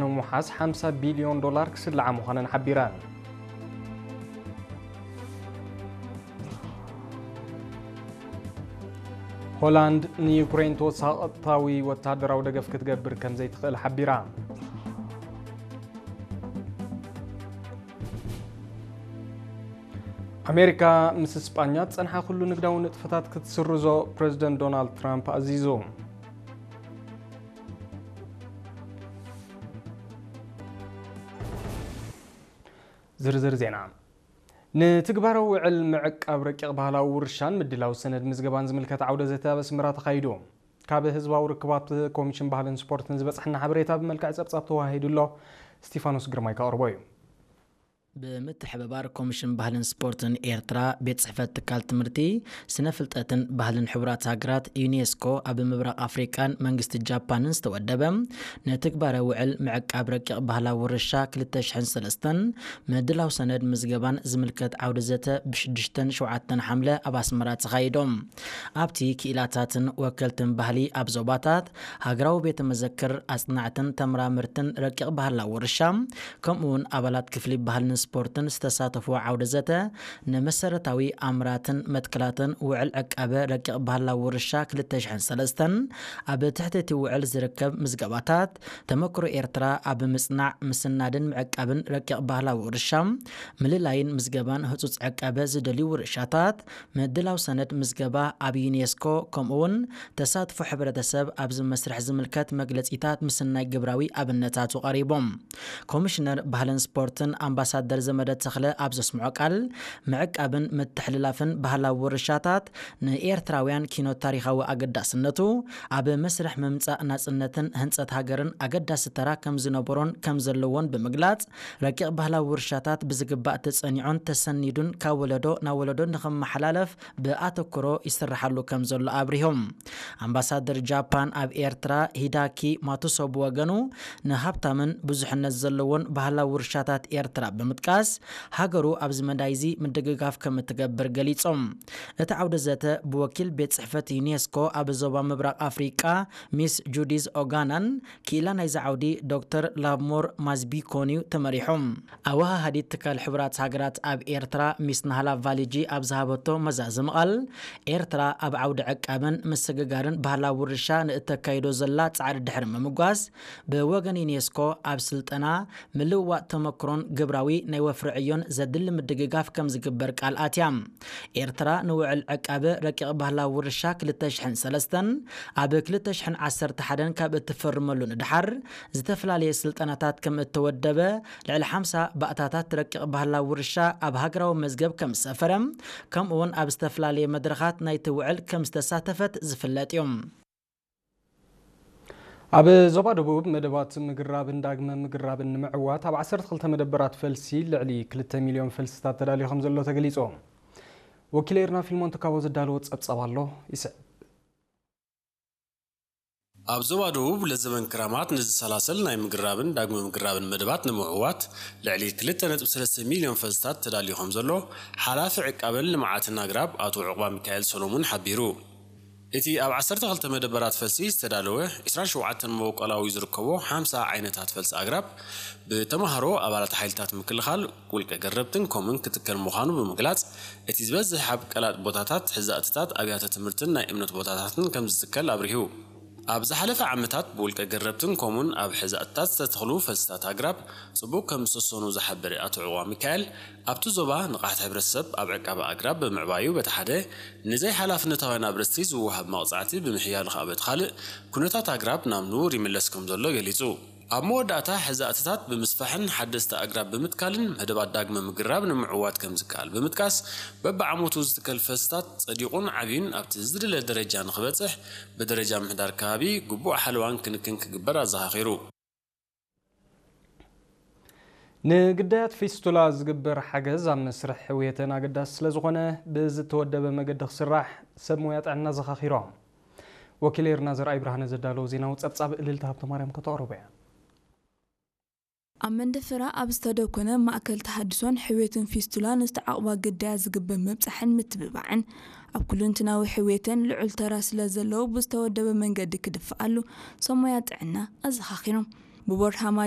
ንምውሓስ ሓምሳ ቢልዮን ዶላር ክስልዓ ምዃነን ሓቢረን። ሆላንድ ንዩክሬን ተወሳኺ ቀጥታዊ ወተሃደራዊ ደገፍ ክትገብር ከም ዘይትኽእል ሓቢራ። ኣሜሪካ ምስ እስጳኛ ዝጸንሓ ኩሉ ንግዳዊ ንጥፈታት ክትስርዞ ፕረዚደንት ዶናልድ ትራምፕ ኣዚዙ። ዝርዝር ዜና። ንትግባራዊ ውዕል ምዕቃብ ረቂቕ ባህላዊ ውርሻን ምድላው ሰነድ ምዝገባን ዝምልከት ዓውደ ዘተ ኣብ ኣስመራ ተኻይዱ። ካብ ህዝባዊ ርክባት ኮሚሽን ባህልን ስፖርትን ዝበጽሐና ሓበሬታ ብመልክዕ ጸብጻብ ተዋሂዱ ኣሎ። ስቲፋኖስ ግርማይ ከቕርቦ እዩ። ብምትሕብባር ኮሚሽን ባህልን ስፖርትን ኤርትራ፣ ቤት ጽሕፈት ትካል ትምህርቲ፣ ስነ ፍልጠትን ባህልን ሕቡራት ሃገራት፣ ዩኔስኮ፣ ኣብ ምብራቕ ኣፍሪቃን መንግስቲ ጃፓንን ዝተወደበ ንትግባረ ውዕል ምዕቃብ ረቂቕ ባህላዊ ውርሻ ክልተ ሽሕን ሰለስተን ምድላው ሰነድ ምዝገባን ዝምልከት ዓውደ ዘተ ብሽዱሽተን ሸውዓተን ሓምለ ኣብ ኣስመራ ተኻይዶም። ኣብቲ ክኢላታትን ወከልትን ባህሊ ኣብ ዞባታት፣ ሃገራዊ ቤተ መዘክር፣ ኣጽናዕትን ተመራመርትን ረቂቕ ባህላዊ ውርሻ፣ ከምኡ እውን ኣባላት ክፍሊ ባህልን ስፖርትን ዝተሳተፍዎ ዓውደ ዘተ፣ ንመሰረታዊ ኣምራትን መትከላትን ውዕል ዕቃበ ረቂቕ ባህላዊ ውርሻ ክልተ ሽሕን ሰለስተን ኣብ ትሕቲ እቲ ውዕል ዝርከብ ምዝገባታት፣ ተመክሮ ኤርትራ ኣብ ምጽናዕ፣ ምስናድን ምዕቃብን ረቂቕ ባህላዊ ውርሻ፣ ምልላይን ምዝገባን ህጹጽ ዕቃበ ዝደልዩ ውርሻታት፣ ምድላው ሰነድ ምዝገባ ኣብ ዩኔስኮ፣ ከምኡ እውን ተሳትፎ ሕብረተሰብ ኣብዚ መስርሕ ዝምልከት መግለጺታት ምስናይ ግብራዊ ኣብነታቱ ቀሪቦም። ኮሚሽነር ባህልን ስፖርትን ኣምባሳደር ዘመደ ተኽለ ኣብ ዘስምዖ ቃል፣ ምዕቃብን ምትሕልላፍን ባህላዊ ውርሻታት ንኤርትራውያን ኪኖ ታሪኻዊ ኣገዳስነቱ፣ ኣብ መስርሕ ምምጻእ ናጽነትን ህንጸት ሃገርን ኣገዳሲ ተራ ከም ዝነበሮን ከም ዘለዎን ብምግላጽ፣ ረቂቕ ባህላዊ ውርሻታት ብዝግባእ ተጸኒዑን ተሰኒዱን ካብ ወለዶ ናብ ወለዶ ንኽመሓላለፍ ብኣተኩሮ ይስርሓሉ ከም ዘሎ ኣብሪሆም። ኣምባሳደር ጃፓን ኣብ ኤርትራ ሂዳኪ ማቱሶ ብወገኑ፣ ንሃብታምን ብዙሕነት ዘለዎን ባህላዊ ውርሻታት ኤርትራ ብምጥቃስ፣ ሃገሩ ኣብዚ መዳይዚ ምድግጋፍ ከም እትገብር ገሊጾም። እቲ ዓውደ ዘተ ብወኪል ቤት ጽሕፈት ዩኔስኮ ኣብ ዞባ ምብራቕ ኣፍሪቃ ሚስ ጁዲዝ ኦጋናን ክኢላ ናይዚ ዓውዲ ዶክተር ላቭሞር ማዝቢኮንዩ ተመሪሖም። ኣወሃሃዲት ትካል ሕቡራት ሃገራት ኣብ ኤርትራ ሚስ ናህላ ቫሊጂ ኣብ ዝሃበቶ መዛዘሚ ቃል፣ ኤርትራ ኣብ ዓውዲ ዕቃበን ምስግጋርን ባህላዊ ውርሻ ንእተካይዶ ዘላ ጻዕሪ ድሕሪ ምምጓስ፣ ብወገን ዩኔስኮ ኣብ ስልጠና፣ ምልውዋጥ ተመክሮን ግብራዊ ናይ ወፍሪ ዕዮን ዘድሊ ምድግጋፍ ከም ዝግበር ቃል ኣትያ። ኤርትራ ንውዕል ዕቃበ ረቂቕ ባህላዊ ውርሻ ክልተ ሽሕን ሰለስተን ኣብ ክልተ ሽሕን ዓሰርተ ሓደን ካብ እትፈርመሉ ንድሓር፣ ዝተፈላለየ ስልጠናታት ከም እተወደበ፣ ልዕሊ ሓምሳ ባእታታት ረቂቕ ባህላዊ ውርሻ ኣብ ሃገራዊ መዝገብ ከም ዝሰፈረ፣ ከምኡ እውን ኣብ ዝተፈላለየ መድረኻት ናይቲ ውዕል ከም ዝተሳተፈት ዝፍለጥ እዩ። ኣብ ዞባ ደቡብ መደባት ምግራብን ዳግመ ምግራብን ንምዕዋት ኣብ ዓሰርተ ክልተ መደበራት ፈልሲ ልዕሊ ክልተ ሚልዮን ፈልስታት ተዳልዩ ከም ዘሎ ተገሊጹ። ወኪል ኤርና ፊልሞን ትካቦ ዘዳለዎ ጸብጻብ ኣሎ፣ ይስዕብ። ኣብ ዞባ ደቡብ ለዘበን ክራማት ንዝሰላሰል ናይ ምግራብን ዳግመ ምግራብን መደባት ንምዕዋት ልዕሊ ክልተ ነጥቢ ሰለስተ ሚልዮን ፈልስታት ተዳልዩ ከም ዘሎ ሓላፊ ዕቃበን ልምዓትን ኣግራብ ኣቶ ዑቕባ ሚካኤል ሰሎሙን ሓቢሩ። እቲ ኣብ ዓሰርተ ክልተ መደበራት ፈልሲ ዝተዳለወ ዕስራን ሸውዓተን መበቆላዊ ዝርከቦ ሓምሳ ዓይነታት ፈልሲ ኣግራብ ብተምሃሮ ኣባላት ሓይልታት ምክልኻል፣ ውልቀ ገረብትን ኮምን ክትከል ምዃኑ ብምግላጽ፣ እቲ ዝበዝሕ ኣብ ቀላጥ ቦታታት፣ ሕዛእትታት፣ ኣብያተ ትምህርትን ናይ እምነት ቦታታትን ከም ዝትከል ኣብሪሁ። ኣብ ዝሓለፈ ዓመታት ብውልቀ ገረብትን ኮሙን ኣብ ሕዛእትታት ዝተተኽሉ ፈልስታት ኣግራብ ጽቡቕ ከም ዝሰሰኑ ዝሓበረ ኣቶ ዕዋ ሚካኤል፣ ኣብቲ ዞባ ንቕሓት ሕብረተሰብ ኣብ ዕቃበ ኣግራብ ብምዕባዩ በቲ ሓደ፣ ንዘይሓላፍነታውያን ኣብረስቲ ዝወሃብ መቕጻዕቲ ብምሕያሉ ከኣ በቲ ካልእ፣ ኩነታት ኣግራብ ናብ ንቡር ይምለስ ከም ዘሎ ገሊጹ። ኣብ መወዳእታ፣ ሕዛእትታት ብምስፋሕን ሓደስቲ ኣግራብ ብምትካልን መደባት ዳግመ ምግራብ ንምዕዋት ከም ዝከኣል ብምጥቃስ፣ በብዓመቱ ዝትከል ፈልስታት ጸዲቑን ዓብዩን ኣብቲ ዝድለ ደረጃ ንኽበጽሕ፣ ብደረጃ ምምሕዳር ከባቢ ግቡእ ሓለዋን ክንክን ክግበር ኣዘኻኺሩ። ንግዳያት ፊስቱላ ዝግበር ሓገዝ ኣብ መስርሕ ሕውየተን ኣገዳሲ ስለ ዝኾነ፣ ብዝተወደበ መገዲ ክስራሕ ሰብ ሞያ ጥዕና ዘኻኺሮም። ወኪል ኤርና ዘርኣይ ብርሃነ ዘዳለዎ ዜናዊ ጸብጻብ እልልታ ሃብተማርያም ከተቕርቦ እያ። ኣብ መንደፈራ ኣብ ዝተደኮነ ማእከል ተሃድሶን ሕውየትን ፊስቱላ ንዝተዓቕባ ግዳያት ዝግበር ምብጻሕን ምትብባዕን፣ ኣብ ኩለንትናዊ ሕውየተን ልዑል ተራ ስለ ዘለዎ፣ ብዝተወደበ መንገዲ ክድፍኣሉ ሰብ ሞያ ጥዕና ኣዘኻኺሮም። ብቦርድ ሃማ